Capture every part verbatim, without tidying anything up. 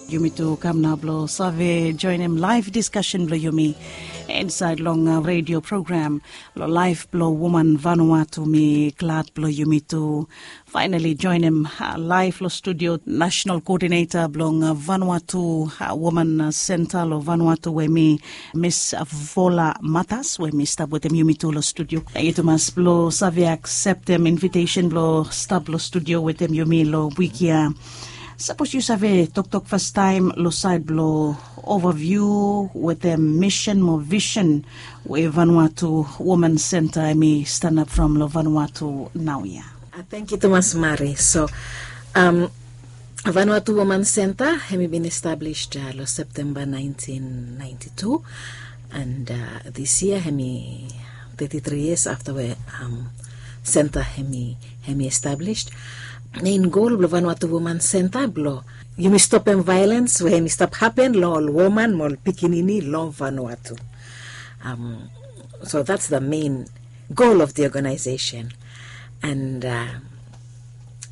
Yumi tu kam nao blong save joenem laev diskasen blong yumi insaed long redio program long laef blong woman Vanuatu. Mi glad blong yumi tu faenali joenem laef long studio nasenal koodineta blong Vanuatu Woman Senta long Vanuatu, we mi Mis Vola Matas, we mi stap wetem yumi tu long studio. Tangkiu tumas blong save akseptem invitesen blong stap long studio wetem yumi long wik ya. Sapos yu save toktok fastaem long saed blong ovaviu wetem misen mo visen we Vanuatu Woman Senta hemi stanap from long Vanuatu naoia. Tangkiu tumas Mari. So, Vanuatu Woman Senta hemi bin establis long Septemba naentin naenti tu, and dis yia hemi teti tri yias afta we senta hemi establis. Mein gol blong Vanuatu Woman Senta blong yumi stopem vaelens we hemi stap hapen long ol woman mo ol pikinini long Vanuatu. So that's the main goal of the organization. And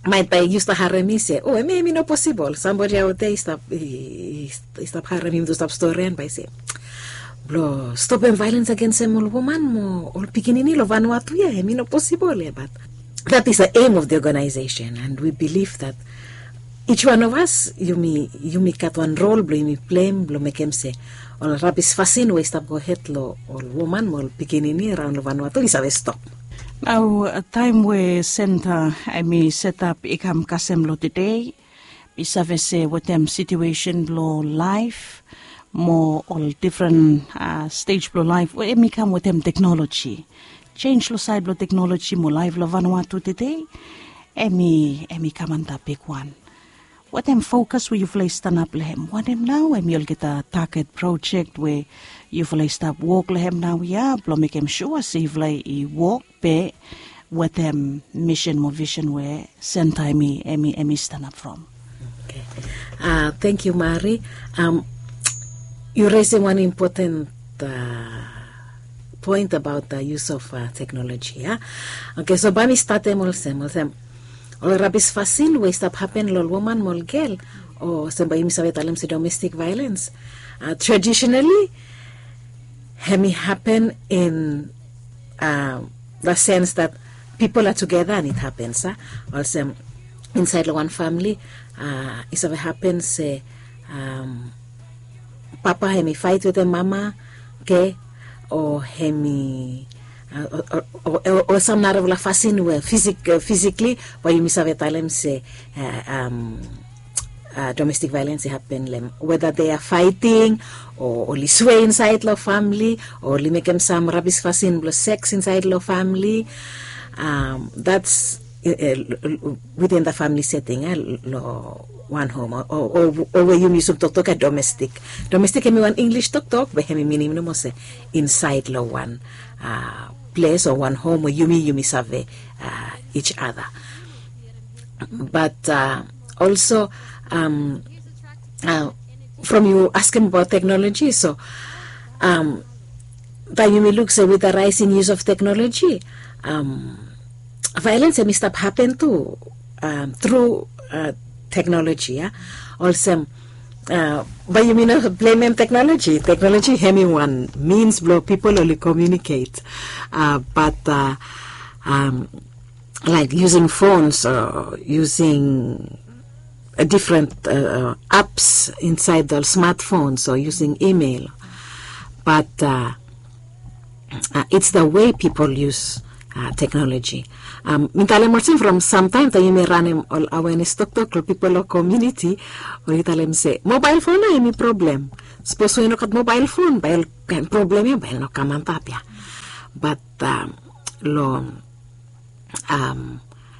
maet bae yu stap harem mi se, o, hemia hemi no posibol. Sambodi aote i stap harem mi tu stap storian bae i se, blong stopem vaelens agensem ol woman mo ol pikinini long Vanuatu ya, hemi no posibol ya. But that is the aim of the organization, and we believe that each one of us, yumi gat wan rol blong yumi pleim blong mekem se ol rabis fasin we i stap gohed long ol woman mo ol pikinini raon long Vanuatu i save stop. Nao taem we senta hemi setap i kam kasem long tede, mi save se wetem situesen blong laef mo ol difren stej blong laef we hemi kam wetem teknoloji, jenj long saed blong teknoloji mo laef long Vanuatu tede, hemi kam antap bigwan. Wetem fokas we yufala i stanap long hem, wanem nao hemi olgeta taget projek we yufala i stap wok long hem naoia blong mekem sua se yufala i wok be wetem misen mo visen we senta hemi stanap from? Tangkiu Mari. Yu resim wan impoten poen abaot yus of teknoloji ya. Oke, so bae mi statem olsem, olsem ol rabis fasin we i stap hapen long ol woman mo ol gel, o olsem bae yumi save talem se domestik vaelens, tradisenali hemi hapen in the sense that pipol a tugeta and it happens, a, olsem insaed long wan famili i save hapen se papa hemi faet wetem mama, oke, o hemi o sam narafala fasin we fisikli bae yumi save talem se domestik vaelens i hapen long hem, weda they are fighting o oli swe insaed long famili o oli mekem sam rabis fasin blong seks insaed long famili. That's within the family setting, long wan hom, o we yumi yusum toktok ya domestik. Domestik hemi wan Inglis toktok be hemi minim nomo se insaed long wan ples o wan hom we yumi yumi save each other. But also from yu askem abaot teknoloji, so bae yumi luk se with the rising use of technology, vaelens hemi stap hapen tu tru teknoloji ya. Olsem bae yumi no blemem teknoloji. Teknoloji hemi wan mins blong pipol oli komiuniket, bat laek yusing fons o yusing difren aps insaed ol smatfons o yusing imel. Bat it's the way pipol yus teknoloji. Mi talem olsem from samtaem taem yumi ranem ol awenes toktok long pipol long komiuniti, oli talem se mobael fon nao hemi problem. Sapos we i no gat mobael fon bae ol kaen problem ya bae i no kam antap ya. Bat long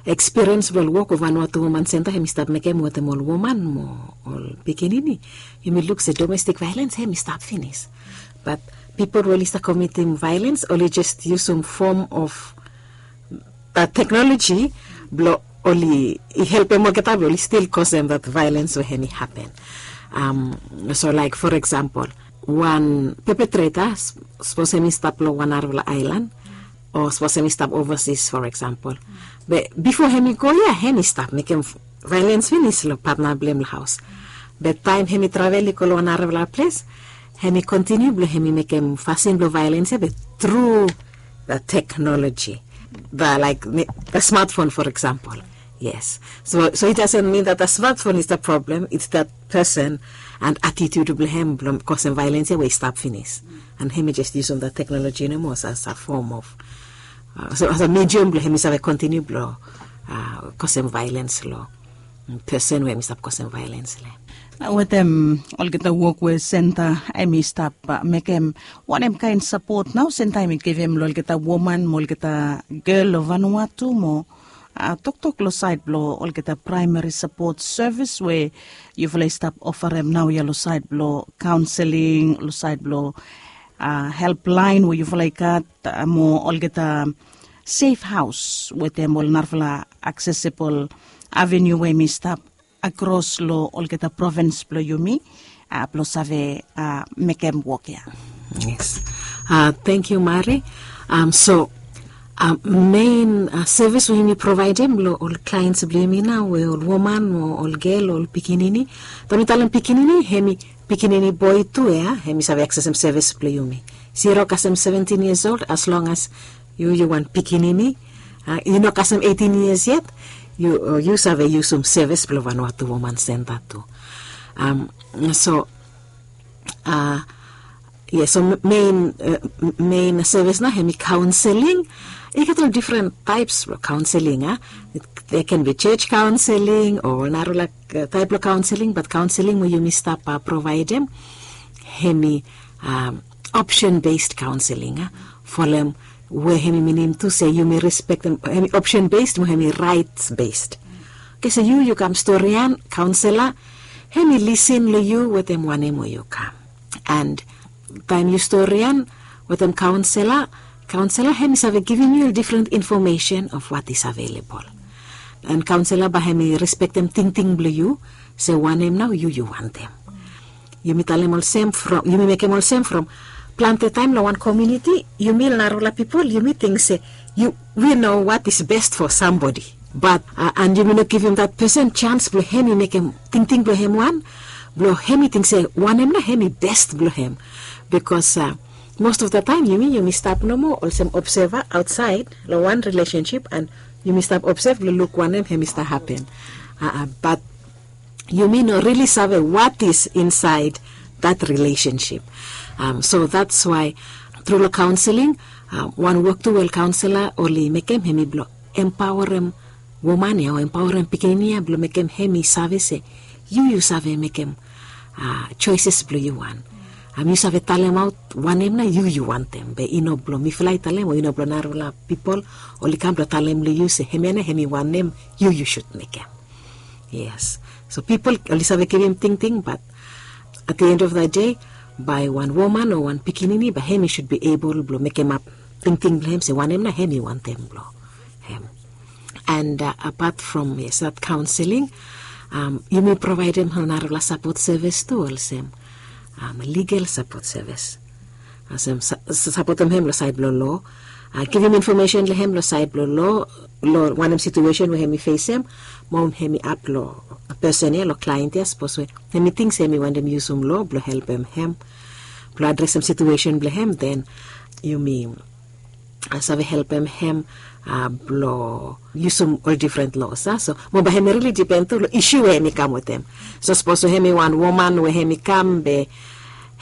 ekspiriens blong ol wok we Vanuatu Woman Senta hemi stap mekem wetem ol woman mo ol pikinini, yumi luk se domestik vaelens hemi stap finis. Bat pipol we oli stap komitim vaelens oli jes yusum fom of teknoloji blong oli helpem olgeta blong oli stil kosem dat vaelens we hemi hapen. So laek for eksampol, wan pepetreta sapos hemi stap long wan narafala aelan o sapos hemi stap ovasis for eksampol, be bifo hemi go ya hemi stap mekem vaelens finis long patna blong hem long haos. Be taem hem i travel i go long wan narafala ples, hem i kontiniu blong hem i mekem fasin blong vaelens ia be tru the technology, the like the smartphone, for example. Yes. So, so it doesn't mean that the smartphone is the problem, it's that person and attitude blong hem blong kosem vaelens ia we i stap finis. And hem i jes yusum the technology nomo as a form of, uh, so as a medium blong hem i save kontiniu blong uh, kosem vaelens long person we hem i stap kosem vaelens long hem. Wetem olgeta wok we senta hem i stap mekem, wanem kaen sapot nao senta hem i givim long olgeta woman mo olgeta gel long Vanuatu mo toktok long saed blong olgeta praemari sapot sevis we yufala i stap ofarem naoia long saed blong kaonseling, long saed blong helplaen we yufala i gat, mo olgeta sef haos wetem ol narafala aksesibol aveniu we hem i stap akros long olgeta provins blong yumi blong save mekem wok ia. Yes. Thank you, Mari. So mein sevis we yumi provaedem long ol klaens blong yumi nao we ol woman o ol gel o ol pikinini. Taem mi talem pikinini, hem i pikinini boe tu ia, hem i save aksesem sevis blong yumi. Zero kasem seventin yias old, as long as yu yu wan pikinini, yu no kasem eitin yias yet, yu save yusum sevis blong Vanuatu Woman Senta tu. So, yes, so mein sevis nao hem i kaonseling. I gat ol difren taeps blong kaonseling a. There can be church counseling o narafala taep blong kaonseling, bat kaonseling we yumi stap provaedem hem i option based counseling a. Folem we hem i minim tu se yumi respektem, hem i option based mo hem i raets based. Oke, so yu yu kam storian, kaonsela hem i lisin long yu wetem wanem we yu kam. And taem yu storian wetem kaonsela, kaonsela hem i save givim yu difren infomesen of what is available. And kaonsela bae hem i respektem tingting blong yu se wanem nao yu yu wantem. Yumi talem olsem from, yumi mekem olsem from plante taem long wan komuniti, yumi narafala pipol yumi ting se yu, we know what is best for somebody. Bat and yumi no givim that person chance blong hem i mekem tingting blong hem wan, blong hem i ting se wanem nao hem i best blong hem. Bikos most of the taem yumi yumi stap nomo olsem obseva aotsaed long wan rilesensip and yumi stap obsev blong luk wanem hem i stap hapen. Bat yumi no rili save what is insaed that rilesensip. So that's why tru long kaonseling, wan wok tu we ol kaonsela oli mekem hem i blong empaorem woman ia o empaorem pikinini ia blong mekem hem i save se yu yu save mekem soeses blong yu wan. Yu save talemaot wanem nao yu yu wantem, be i no blong mifala i talem o i no blong narafala pipol oli kam blong talem long yu se hemia nao hem i wanem yu yu sud mekem. Yes. So pipol oli save givim tingting, bat at the end of the day, bae wan woman o wan pikinini bae hem i sud be ebol blong mekemap tingting blong hem se wanem nao hem i wantem blong hem. And apat from, yes, that counseling, yumi provaedem narafala sapot sevis tu olsem ligel sapot sevis. Olsem sapotem hem long saed blong loa, givim infomesen long hem long saed blong loa, long wanem situesen we hem i fesem, mo hem i ap long pesen ia, long klaent ia, sapos we hem i ting se hem i wantem yusum loa blong helpem hem blong adresem situesen blong hem, den yumi save helpem hem blong yusum ol difren loas a. So mo bae hem i rili dipen tu long isu we hem i kam wetem. So sapos we hem i wan woman we hem i kam be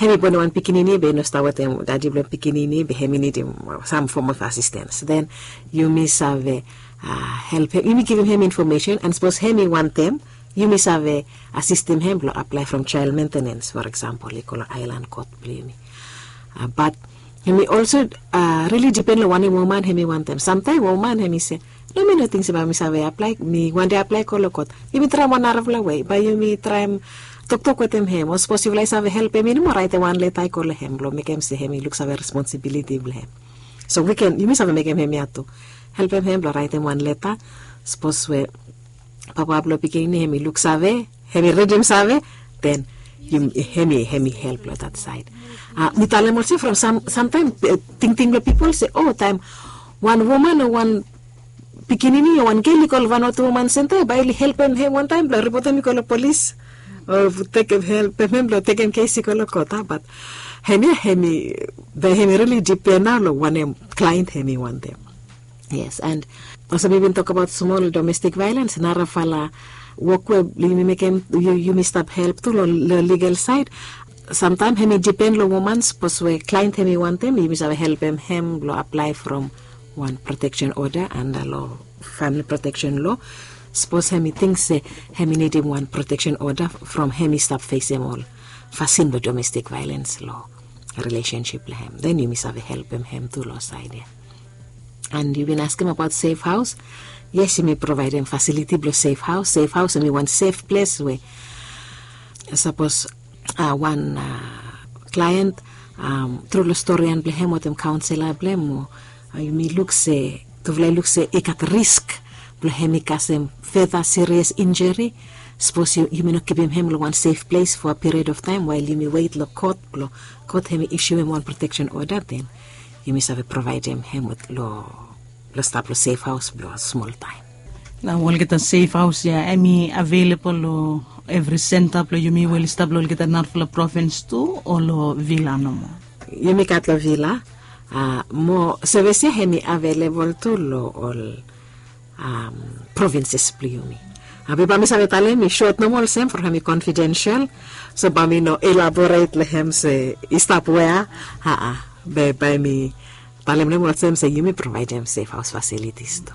hem i bonem wan pikinini be i no stap wetem dadi blong pikinini be hem i nidim sam fom of asistens, den yumi save helpem, yumi givim hem infomesen, and sapos hem i wantem, yumi save asistem hem blong aplae from jael mentenens, for example, i go long aelan kot blong yumi. Bat hem i olso rili dipen long wanem woman hem i wantem. Samtaem woman hem i se, no, mi no ting se bae mi save aplae, mi wantem aplae go long kot. Yumi traem wan narafala wei, bae yumi traem toktok wetem hem, o sapos yufala i save helpem i nomo, raetem wan leta i go long hem blong mekem se hem i luksave responsibiliti blong hem. So we ken, yumi save mekem hemia tu, helpem hem blong raetem wan leta. Sapos we papa blong pikinini hem i luksave, hem i ridim save, den hem i, hem i help long that saed. Mi talem olsem from samtaem tingting blong pipol se, o, taem wan woman o wan pikinini o wan gel i go long Vanuatu Woman Senta, bae oli helpem hem wantaem blong ripotem i go long polis. O tekem helpem hem blong tekem kes i go long kot a, bat hem ya hem i be hem i rili dipen nao long wanem klaen hem i wantem. Yes, and olsem mi bin tokbaot smol domestik vaelens, narafala wok we yumi mekem, yumi stap help tu long legal saed. Samtaem hem i dipen long woman, sapos we klaen hem i wantem, yumi save helpem hem blong aplae from wan proteksen oda anda long famili proteksen lo. Sapos hem i ting se hem i nidim wan proteksen oda from hem i stap fesem ol fasin blong domestik vaelens long rilesensip blong hem, den yumi save helpem hem tu long saed ya. And yu bin askem abaot sef haos. Yes, yumi provaedem fasiliti blong sef haos. Sef haos hem i wan sef ples we sapos wan klaen tru long storian blong hem wetem kaonsela blong hem, o yumi luk se, tufala i luk se i gat risk blong hem i kasem feta sirias injuri. Sapos yumi no kipim hem long wan sef ples fo a piriod of taem wael yumi wet long kot blong kot hem i isiuem wan proteksen oda, den yumi save provaedem hem long stap long sef haos blong smol taem. Nao olgeta sef haos ya hem i avelebol long evri senta blong yumi we oli stap long olgeta narafala provins tu, o long vila nomo? Yumi gat long vila. Mo sevis ya hem i avelebol tu long ol provinses blong yumi. Be bae mi save talem i sot nomo olsem from hem i konfidensel, so bae mi no elaboret long hem se i stap wea. Aa, be bae mi talem nomo olsem se yumi provaedem sef haos fasilitis tu.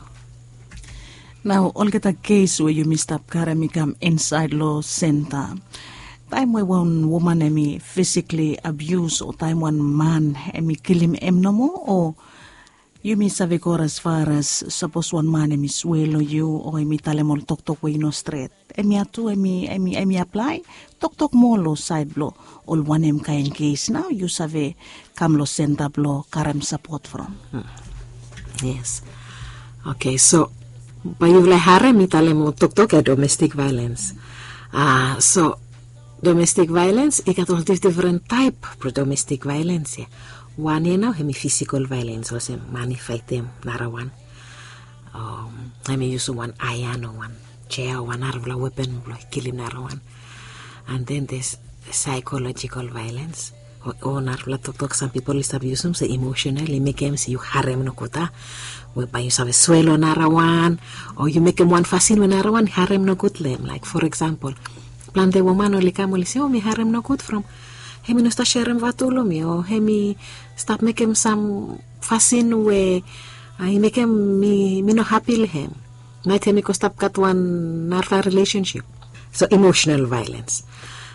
Nao olgeta kes we yumi stap karem i kam insaed long senta, taem we wan woman hem i fisikli abius o taem wan man hem i kilim hem nomo, o yumi save go as far as sapos wan man hem i swe long yu o hem i talem ol toktok we i no stret, hemia tu hem i aplae toktok moa long saed blong ol wanem kaen kes nao yu save kam long senta blong karem sapot from? Yes. Oke, so bae yufala i harem mi talem ol toktok ya domestik vaelens. So domestik vaelens i gat ol difdifren taep blong domestik vaelens ya. Wan ya nao hem i fisikol vaelens, olsem man i faetem narawan, hem i yusum wan aean o wan jea o wan narafala wepen blong kilim narawan. And then there's psychological violence, o narafala toktok sam pipol i stap yusum se emotional, i mekem se yu harem nogud a, we bae yu save swe long narawan, o yu mekem wan fasin we narawan i harem nogud long hem. Laek for eksampol, plante woman oli kam oli se, o mi harem nogud from hem i no stap serem vatu long mi, o hem i stap mekem sam fasin we i mekem mi no hapi long hem. Maet hem i go stap gat wan narafala rilesensip. So emotional violence.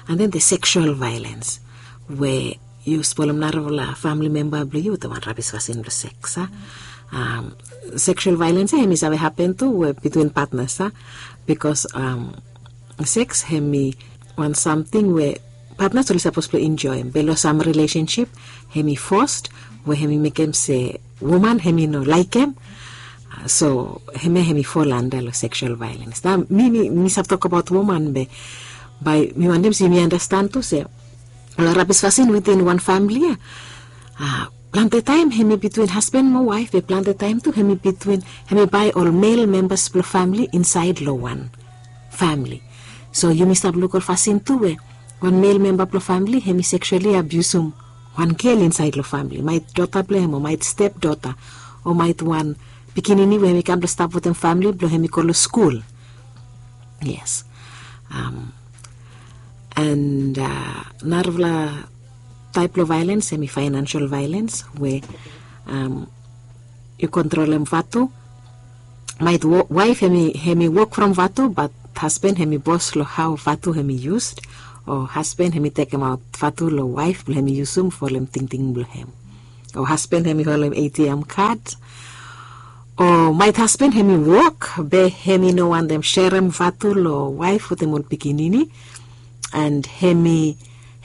And then the sexual violence, we yu spolem narafala famili memba blong yu wetem wan rabis fasin blong seks a. Sexual violence ya hem i save hapen tu we bitwin patnas a, bikos seks hem i wan samting we patnas oli sapos blong enjoem, be long sam rilesensip hem i fos, we hem i mekem se woman hem i no laekem. So hemia hem i fol anda long sexual violence. Nao mi mi save tokbaot woman, be bae mi wantem se yumi andastan tu se ol rabis fasin witin wan famili ya, plante taem hem i bitwin hasban mo waef, be plante taem tu hem i bitwin, hem i bae ol mel membas blong famili insaed long wan famili. So yumi stap luk ol fasin tu we wan mel memba blong famili hem i seksuali abiusum wan gel insaed long famili, maet dota blong hem o maet step dota, o maet wan pikinini we hem i kam blong stap wetem famili blong hem i go long skul. Yes. And narafala taep blong vaelens hem i faenansial vaelens, we yu kontrolem vatu. Maet waef hem i wok from vatu, bat hasban hem i bos long hao vatu hem i yus, o hasban hem i tekemaot vatu long waef blong hem i yusum folem tingting blong hem, o hasban hem i holem atm kad, o maet hasban hem i wok be hem i no wantem serem vatu long waef wetem ol pikinini, and hem i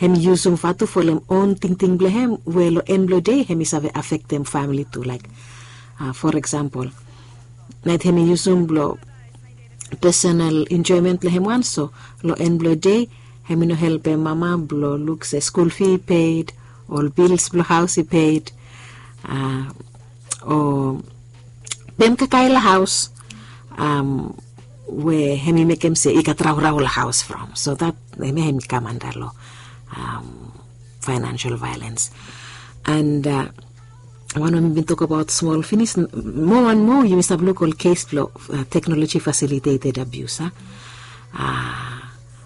hem i yusum vatu folem on tingting blong hem, we long en blong dei hem i save afektem famili tu. Laek for eksampol, naet hem i yusum blong pesonal enjoemen blong hem wan, so long en blong dei hem i no helpem mama blong luk se skul fi i ped, ol bils blong haos i ped, o pem kakae long haos, we hem i mekem se i gat raorao long haos from. So dat Hemia hem i kam anda long financial violence. And wan we mi bin tokabaot smol finis, moa and moa yumi stap luk ol kes blong teknoloji fasiliteted abius a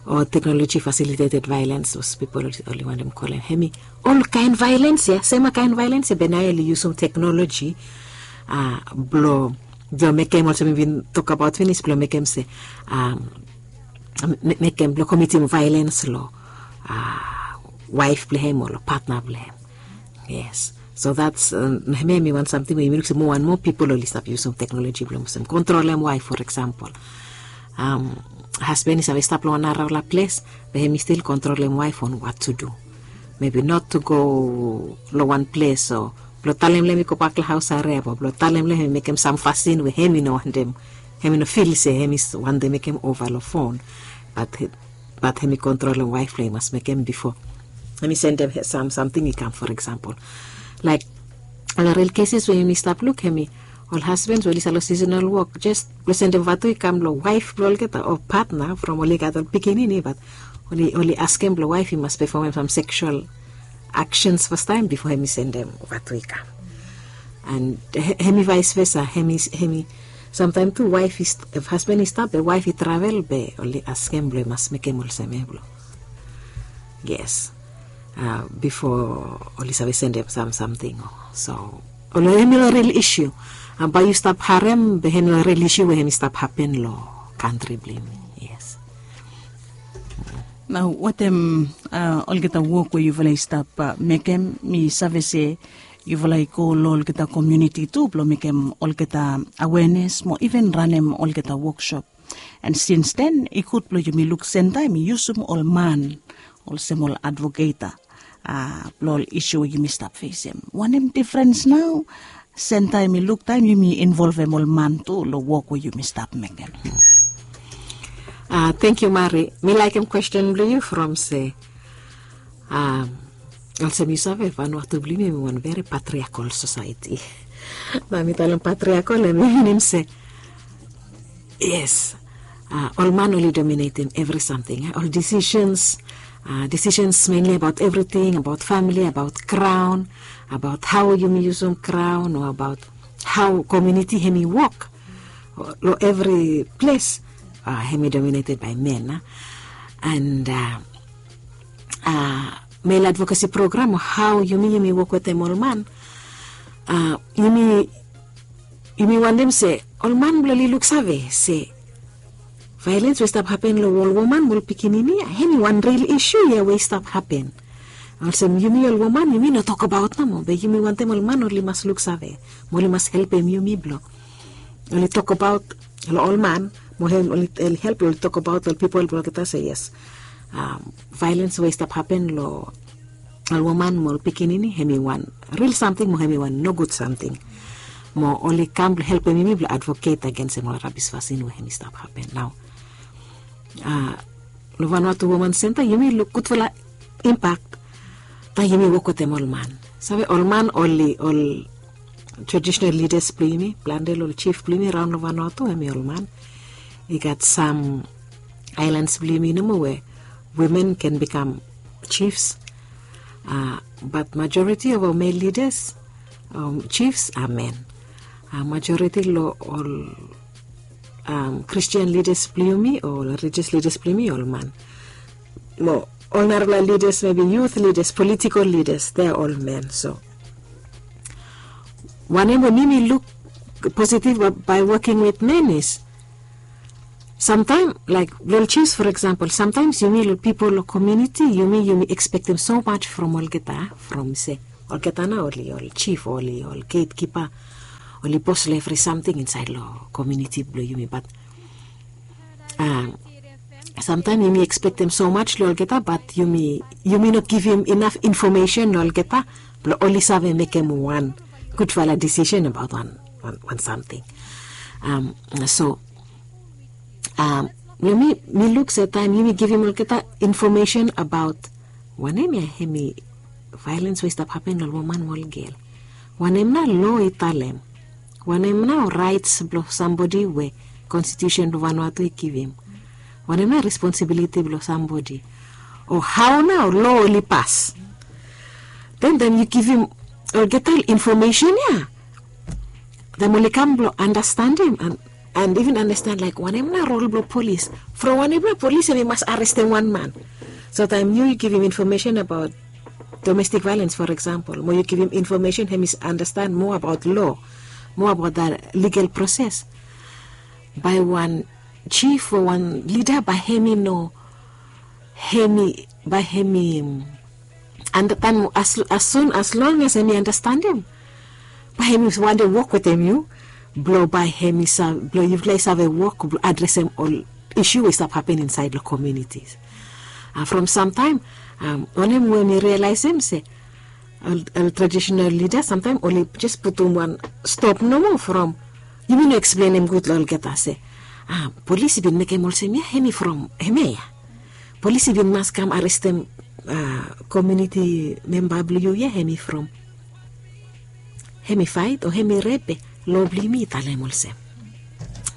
o teknoloji fasiliteted vailens, sapos pipol oli wantem kolem hemi ol kaen vailens ya, sema kaen vailens ya be nao oli yusum teknoloji blong blong mekem olsem mi bin tokabaot finis blong mekem se mekem blong komitim vailens long waef blong hem o long patna blong hem. Yes. So that's hemia hemi wan samting we yumi luk se moa and moa pipol oli stap yusum teknoloji blong olsem kontrolem waef, for example. Hasben i save stap long wan narafala ples be hemi stil kontrolem waef on what to do. Maybe not to go long wan ples o blong talem long hem i gobak long haos hariap o blong talem long hem i mekem sam fasin we hem i no wantem, hem i no fil se hem i wantem mekem ova long fon. Bat bat hem i kontrolem waef blong hem i mas mekem bifo hem i sendem sam samting i kam, for example, laik ol ril keses we yumi stap luk hem i ol hasbens we oli save long sisenal wok jes blong sendem vatu i kam long waef blong olgeta o patna from oli gat ol pikinini bat oli askem blong waef i mas pefomem sam seksual aksens fastaem bifo hem i sendem vatu i kam. And hem i vaes vesa, hem i samtaem tu waef i hasben i stap be waef i travel be oli askem blong i mas mekem olsem ya blong yes bifo oli save sendem sam samting o so ol hemi ol ril isiu. Bae yu stap harem be hemi ol ril isiu we hemi stap hapen long kantri blong yumi. Yes. Nao watem olgeta wok we yufala i stap mekem, mi save se yufala i go long olgeta komiuniti tu blong mekem olgeta awenes mo iven ranem olgeta woksop. And sins den i gud blong yumi luk sentaem i yusum ol man olsem ol advoketa blong ol isiu we yumi stap fesem. Wanem difrens nao sentaem i luk taem yumi involvem ol man tu long wok we yumi stap mekem? Tengkiu Mari, mi laikim kwesten blong yu from se olsem yu save Vanuatu blong yumi hemi wan veri patriakol sosaeti. Nao mi talem patriakol hemi minim se yes, ol man oli dominetim evri samting, ol disisens, disisens menli abaot evriting, abaot famili, abaot kraon, abaot hao yumi yusum kraon o abaot hao komiuniti hemi wok long evri ples hemi domineted bae men. And mel advokasi program o hao yumi yumi wok wetem ol man, yumi yumi wantem se ol man blong oli luksave se vaelens we i stap hapen long ol woman mo ol pikinini ya hemi wan ril isiu ya we i stap hapen. Olsem yumi ol woman yumi no tokbaot nomo be yumi wantem ol man oli mas luksave mo oli mas helpem yumi blong oli tokbaot long ol man mo hem oli help long oli tokbaot long ol pipol blong olgeta se yes, vaelens we i stap hapen long ol woman mo ol pikinini hemi wan ril samting mo hemi wan nogud samting. Mo oli kam blong helpem yumi blong advoket agensem ol rabis fasin we hemi stap hapen nao. Long Vanuatu Woman Senta yumi luk gudfala impak taem yumi wok wetem ol man. Save ol man oli ol tradisonal lidas blong yumi, plante long ol jif blong yumi raon long Vanuatu hemi ol man. I gat sam aelans blong yumi nomo we wimen ken bikam jifs. Bat majoriti of ol mel lidas, jifs a men. Majoriti long ol Kristian lidas blong yumi o ol rilijias lidas blong yumi ol man. Mo ol narafala lidas mebi yut lidas politikol lidas de a ol men. So wanem we mi mi luk positiv bae woking wit men is samtaem laek long ol jifs for eksampol samtaems yumi long pipol long komiuniti yumi yumi ekspektem so maj from olgeta from se olgeta nao oli ol jif oli ol getkipa oli bos long evri samting insaed long komiuniti blong yumi bat samtaem yumi ekspektem so maj long olgeta bat yumi yumi no givim inaf infomesen long olgeta blong oli save mekem wan gudfala disisen abaot wan wan samting. So long mi mi luk se taem yumi givim olgeta infomesen abaot wanem ya hemi vaelens we i stap hapen long ol woman mo ol gel. Wanem nao loa i talem? Wanem nao raets blong sambodi we konstitiusen blong Vanuatu i givim? Wanem nao responsibiliti blong sambodi? O hao nao lo oli pas. Den taem yu givim olgeta ol infomesen ya, taem oli kam blong andastandim and even andastan laik wanem nao rol blong polis, from wanem nao polis em i mas arestem wan man. So taem yu givim infomesen abaot domestik vaelens, for eksampol, mo yu givim infomesen hem i andastan moa abaot lo, moa abaot da ligal proses, bae wan jif o wan lida bae hem i no, hem i, bae hem i andastandim. As sun as long as hem i andastandim, bae hem i wantem wok wetem yu blong bae hem i save, blong yufala i save wok blong adresem ol isu we i stap hapen insaed long komiunitis. From samtaem wanem we mi rialaesem se ol tradisonal lida samtaem oli jes putum wan stop nomo from yumi no eksplenem gud long olgeta se polis i bin mekem olsem ya hem i from hemia ya. Polis i bin mas kam arestem komiuniti memba blong yu ya hem i from, hem i faet o hem i rep be lo blong yumi i talem olsem.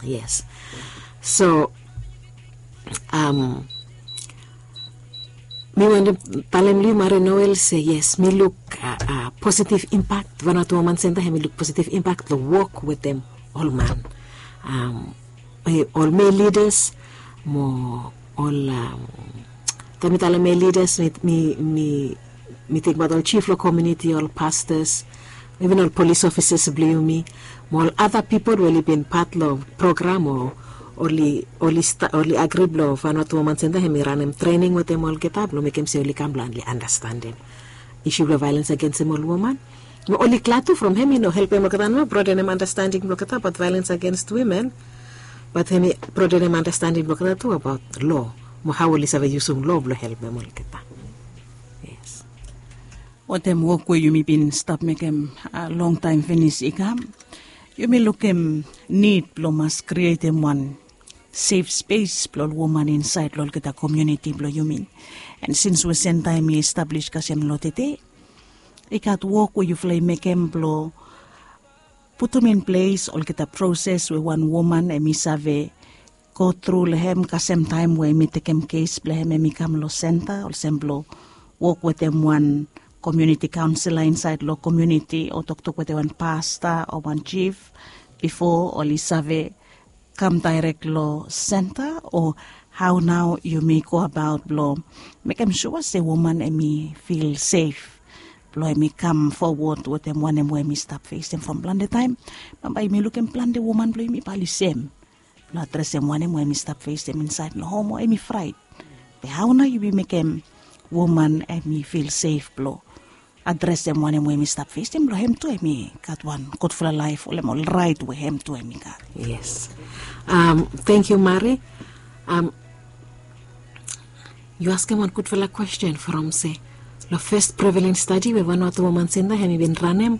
Yes. So mi wantem talem long yu Mari Noel se yes mi luk positiv impak. Vanuatu Woman Senta hem i luk positiv impak long wok wetem ol man, ol mel lidas mo ol, taem mi talem mel lidas mi, mi, mi tingbaot ol jif long komiuniti, ol pastas, even ol polis ofisas blong yumi mo ol ada pipol we oli bin pat long program o oli, oli agri blong Vanuatu Woman Senta hem i ranem trening wetem olgeta blong mekem se oli kam blong oli andastandim isu blong vaelens agensem ol woman. Mo oli glad tu from hem i no helpem olgeta nomo broadenem andastanding blong olgeta abaot vaelens agens wimen, bat hem i broadenem andastanding blong olgeta tu abaot lo mo hao oli save yusum lo blong helpem olgeta. Yes. Wetem wok we yumi bin stap mekem longtaem finis i kam, yumi lukim nid blong mas krietem wan sef spes blong ol woman insaed long olgeta komiuniti blong yumi. An sins we Senta hem i establis kasem lo tede, i gat wok we yufala i mekem blong putum in ples olgeta proses we wan woman hem i save gotru long hem kasem taem we hem i tekem kes blong hem hem i kam long senta olsem blong wok wetem wan komiuniti kaonsela insaed long komiuniti o toktok wetem wan pasta o wan jif bifo oli save kam daerek long senta o hao nao yumi go abaot blong mekem sua se woman hem i fil sef blong hem i kam fowod wetem wanem we hem i stap fesem from plante taem. Bambae yumi lukim plante woman blong yumi bae oli sem blong adresem wanem we hem i stap fesem insaed long hom o hem i fraet. Be hao nao yumi mekem woman hem i fil sef blong adresem wanem we hem i stap fesem blong hem tu hem i gat wan gudfala laef olem ol raet we hem tu hem i gat. Yes. Tangkiu Mari. Yu askem wan gudfala kwesten from se long fes prevalens stadi we Vanuatu Woman Senta hem i bin ranem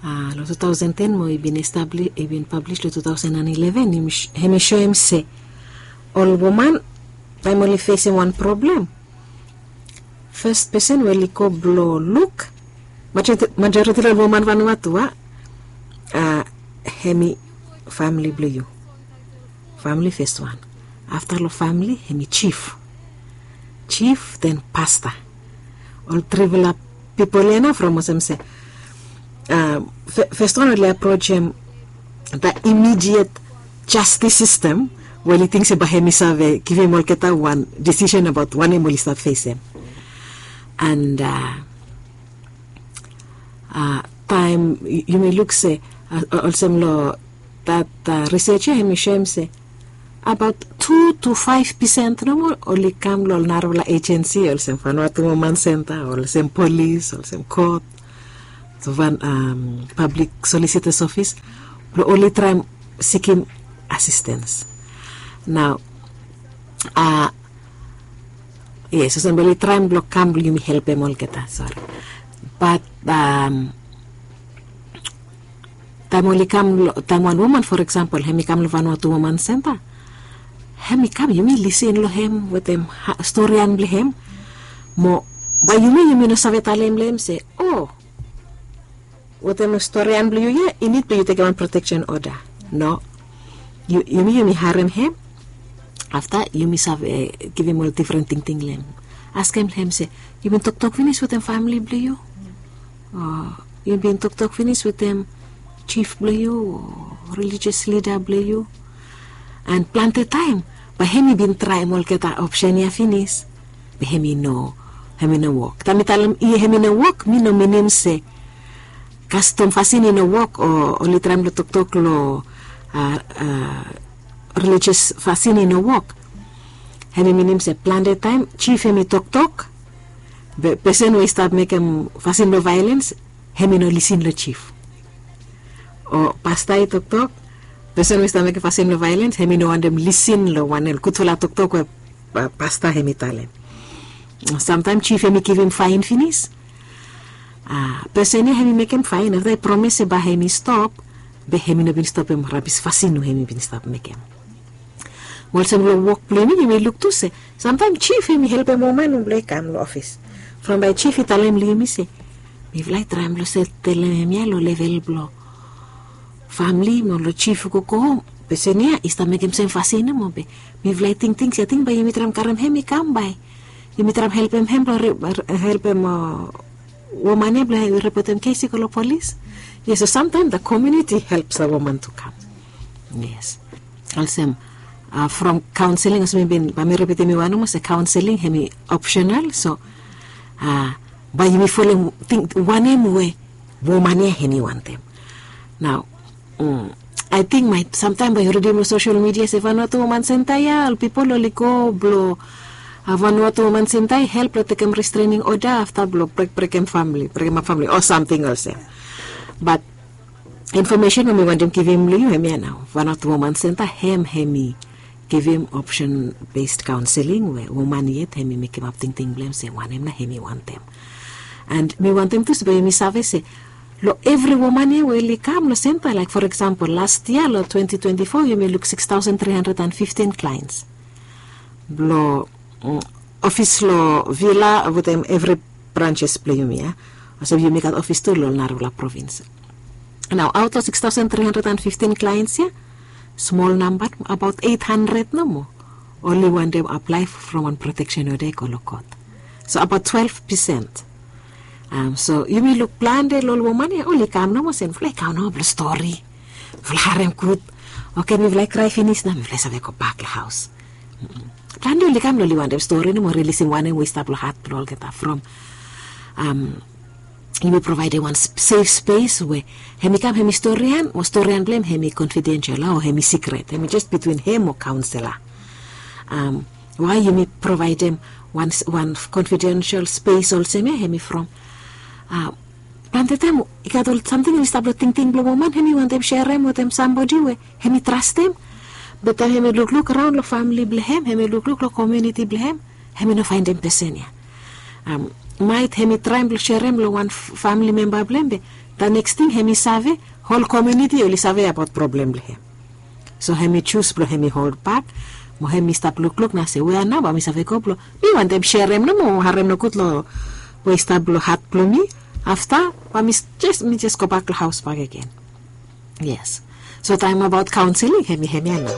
long two thousand ten mo i bin establis, i bin pablis long two thousand and eleven, hem i soem se ol woman taem oli fesem wan problem, fes pesen we oli go blong luk, majoriti long ol woman Vanuatu a, hem i famili blong yu. Famili fes wan. Afta long famili hem i jif, jif den pasta. Ol trifala pipol ya nao from olsem se fes wan oli aprojem da imidiet jastis sistem we oli ting se bae hem i save givim olgeta wan disisen abaot wanem oli stap fesem. And taem yumi luk se olsem long dat risej ya hem i soem se abaot tu tu faef pesen nomo oli kam long ol narafala ejensi olsem Vanuatu Woman Senta, olsem polis, olsem kot, pablik solisitas ofis blong oli traem sikim asistens. Nao yes, olsem blong oli traem blong kam blong yumi helpem olgeta, sori. Bat taem oli kam, taem wan woman for eksampol hem i kam long Vanuatu Woman Senta, hem i kam yumi lisin long hem wetem storian blong hem. Mo bae yumi, yumi no save talem long hem se o wetem storian blong yu ya i nid blong yu tekem wan proteksen oda. No. Yumi, yumi harem hem. Afta yumi save givim ol difren tingting long hem. Askem long hem se, yu bin toktok finis wetem famili blong yu? O yu bin toktok finis wetem jif blong yu o relijios lida blong yu? An plante taem bae hem i bin traem olgeta opsen ya finis, be hem i no, hem i no wok. Taem mi talem i hem i no wok, mi no minim se kastom fasin i no wok o oli traem long toktok long relijios fasin i no wok. Hem i minim se plante taem jif hem i toktok, be pesen we i stap mekem fasin blong vaelens, hem i no lisin long jif. O pasta i toktok, pesen we i stap mekem fasin blong vaelens, hem i no wantem lisin long wanem gudfala toktok we pasta hem i talem. Samtaem jif hem i givim faen finis, pesen ya hem i mekem faen, afta i promes se bae hem i stop, be hem i no bin stopem rabis fasin we hem i bin stap mekem. Mo olsem long wok blong yumi, yumi luk tu se samtaem jif hem i helpem woman we blong i kam long ofis. From bae jif i talem long yumi se, mifala i traem blong setelem hemia long level blong famili mo long jif i go go hom. Pesen ya i stap mekem sem fasin nomo, be mifala i tingting se ating bae yumi traem karem hem i kam bae yumi traem helpem hem blong helpem woman ya blong ripotem kes i go long polis. Yes, so samtaem the community helps the woman to come. Yes. Olsem from kaonseling, olsem mi bin, bae mi ripitim yu wan nomo se kaonseling hem i opsenal, so bae yumi folem ting wanem we woman ya hem i wantem. Nao ating maet samtaem bae yu ridim long sosel midia se Vanuatu Woman Senta ya ol pipol oli go blong Vanuatu Woman Senta i help long tekem restrening oda afta blong brekbrekem famili, brekem ap famili o samting olsem. Bat infomesen we mi wantem givim long yu hemia nao, Vanuatu Woman Senta hem hem i givim opsen bes kaonseling we woman yet hem i mekemap tingting blong hem se wanem nao hem i wantem. An mi wantem tu se bae yumi save se long evri woman ya we oli kam long senta, laek for eksampol las yia long twenti twenti fo yumi luk sikstaosen tri handred an fiftin klaens blong ofis long Vila wetem evri branses blong yumi ya. Olsem yumi gat ofis tu long narafala provins. Nao aot long sikstaosen tri handred an fiftin klaens ya, smol namba, abaot eit handred nomo oli wantem aplae from wan proteksen oda i go long kot. So abaot twelve percent. So yumi luk plante long ol woman ya oli kam nomo se mifala i kam nomo blong stori, mifala harem gud. Oke, mifala i krae finis nao mifala i save gobak long haos. Plante oli kam long oli wantem stori nomo, rilisim wanem we i stap long hat blong olgeta from yumi provaedem wan sef spes we hem i kam hem i storian, mo storian blong hem hem i konfidensel o hem i sikret, hem i jes bitwin hem mo kaonsela. Wae yumi provaedem wan konfidensel spes olsem ya hem i from plante taem i gat ol samting hem i stap long tingting blong woman, hem i wantem serem wetem sambodi we hem i trastem. Be taem hem i lukluk raon long famili blong hem, hem i lukluk long komuniti blong hem, hem i no faendem pesen ya. Maet hem i traem blong serem long wan famili memba blong hem, be the next ting hem i save, hol komuniti oli save abaot problem blong hem. So hem i jus blong hem i holbak mo hem i stap lukluk nao se wea nao bae mi save go blong mi wantem serem nomo, harem nogud long we i stap long hat blong mi. Afta bae mi jes gobak long haos bakegen. Yes. So taem abaot kaonseling hem i hemia nao.